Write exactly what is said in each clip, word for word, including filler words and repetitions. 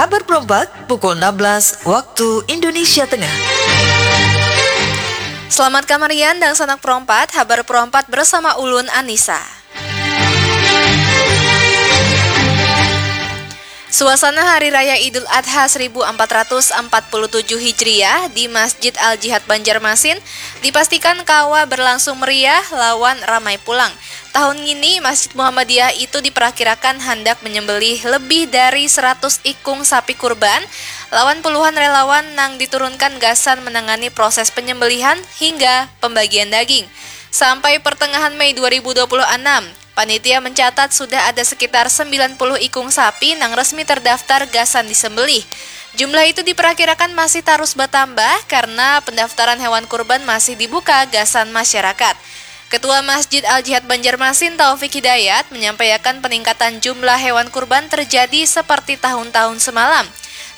Habar perompat pukul enam belas waktu Indonesia Tengah. Selamat kamarian dangsanak perompat, habar perompat bersama ulun Anissa. Suasana Hari Raya Idul Adha seribu empat ratus empat puluh tujuh Hijriah di Masjid Al-Jihad Banjarmasin dipastikan kawa berlangsung meriah lawan ramai pulang. Tahun ngini, Masjid Muhammadiyah itu diperakirakan handak menyembelih lebih dari seratus ikung sapi kurban lawan puluhan relawan nang diturunkan gasan menangani proses penyembelihan hingga pembagian daging. Sampai pertengahan Mei dua ribu dua puluh enam, panitia mencatat sudah ada sekitar sembilan puluh ikung sapi nang resmi terdaftar gasan disembelih. Jumlah itu diperakirakan masih tarus batambah karena pendaftaran hewan kurban masih dibuka gasan masyarakat. Ketua Masjid Al-Jihad Banjarmasin, Taufik Hidayat, menyampaikan peningkatan jumlah hewan kurban terjadi seperti tahun-tahun semalam.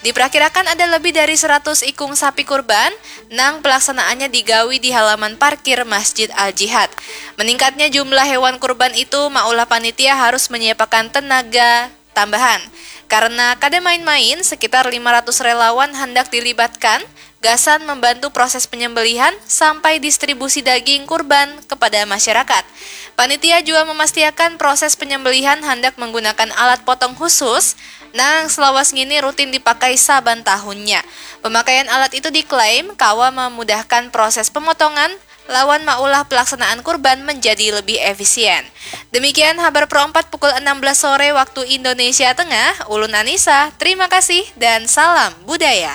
Diperakirakan ada lebih dari seratus ikung sapi kurban nang pelaksanaannya digawi di halaman parkir Masjid Al-Jihad. Meningkatnya jumlah hewan kurban itu maulah panitia harus menyiapakan tenaga tambahan. Karena kada main-main, sekitar lima ratus relawan handak dilibatkan gasan membantu proses penyembelihan sampai distribusi daging kurban kepada masyarakat. Panitia jua memastiakan proses penyembelihan handak menggunakan alat potong khusus nang selawas ngini rutin dipakai saban tahunnya. Pemakaian alat itu diklaim kawa memudahkan proses pemotongan lawan maulah pelaksanaan kurban menjadi lebih efisien. Demikian habar perompat pukul enam belas sore waktu Indonesia Tengah. Ulun Anissa, terima kasih dan salam budaya.